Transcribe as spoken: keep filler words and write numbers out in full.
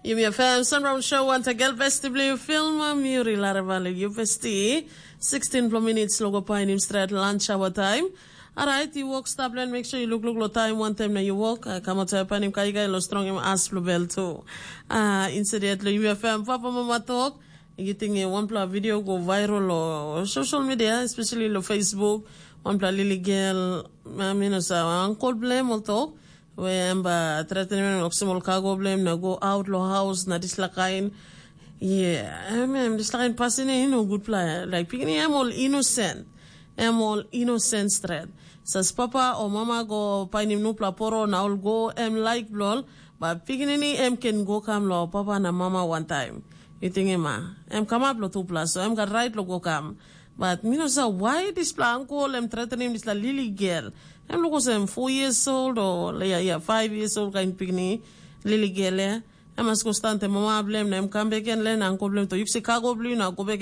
Yumi FM Sunround Show wantagen besti bilong yu film Muri Laravale yu besti. Sixteen plo minutes lo go painim stret lunch hour time. Alright, you walk stop and make sure you look look lo time one time na you walk. Uh, come out painim kai kai lo strong im as lo bell too. Uh, instead lo yumi FM papa mama talk. You think one pla video go viral lo social media, especially lo Facebook. One pla lily girl, I mean, sa uncle blame ol talk. We em ba threatening oksim ol cargo blame na go out lo house na dislakain. Yeah, em em dislakain pasin e no good pla. Like picking em all innocent. Em all innocent threat. Sas papa o mama go painim nupla poro na ol go em laik bilong ol, ba pikinini em ken go kam lo papa na mama wantaim. Yu tingim a, em kamap lo tupela, so em gat rait lo go kam. Bat mi no sa wai dispela ankol em thretenim dispela lili gel. Em luk olsem four years old o ya, ya, five years old kain pikinini, lili gel ya. Em mas go stand te mama bilem na em kam bek gen le na ankol bilem to yuk se kago bilem na go bek